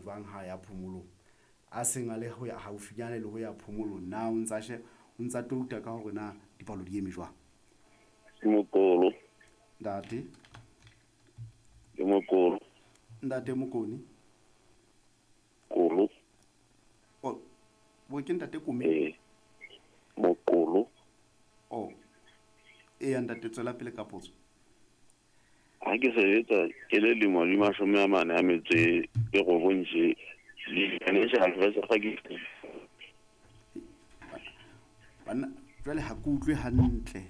jwang ha ya phomolong. A seng a le ho ya haufinyane le ho ya phomolong, na o ntsa o ntsa touta ka hore na dipalo di eme jwang? Mokolo. Ntate. Ke Mokolo. Ntate Mokoni. Kolo. Oh, bo ke ntate Kome? Ee. Mokolo. Oh. Eya ntate, tswela pele ka potso. Ha ke sebetsa ke le lemo di 49 tje, di-financial advisor ga ke Banna, jwale ha ke utlwe hantle.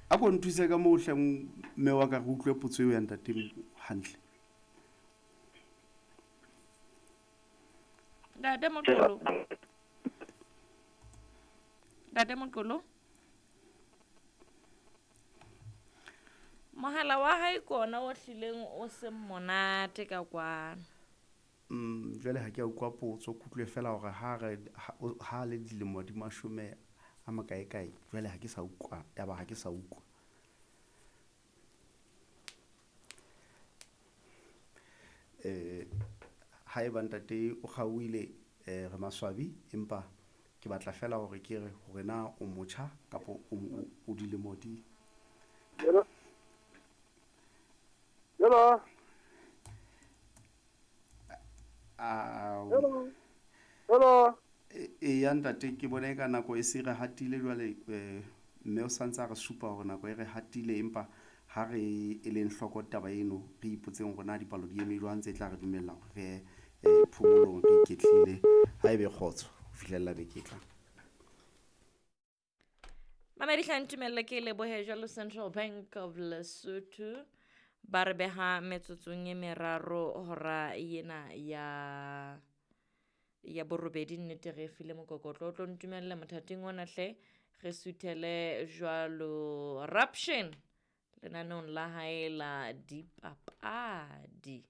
A ko nthuse ka moo hle mme wa ka, re utlwe potso eo ya ntate hantle. Ntate Moqolo. Ntate Moqolo. Mohala wa hae kona o hlileng o seng monate ka kwano. Jwale ha ke a utlwa potso, ke utlwe fela hore ha re ha le dilemo di mashome a makae kae, jwale ha ke sa utlwa, yaba ha ke sa utlwa. Haeba ntate o kgaohile, re maswabi, empa ke batla fela hore ke re hore na o motjha kapa o dilemo di. Hello. Hello. Hello. Hello. Eya ntate, ke bona eka nako e se re hatile jwale, mme o santse a re supa hore nako e re hatile, empa ha re e leng hloko taba eno, re ipotseng hore na dipalo di eme jwang tse tla re dumella hore re ye phomolong re iketlile. Ha ebe kgotso ho fihlella beke e tlang. Mamedi hle ntumelle ke lebohe jwalo Central Bank of Lesotho ba re beha metsotsong e meraro hora ena ya ya borobedi, nnete re file mokokotlo o tlo ntumelle mothating ona hle re suthele jwalo Raption lenaneong la hae la dipapadi.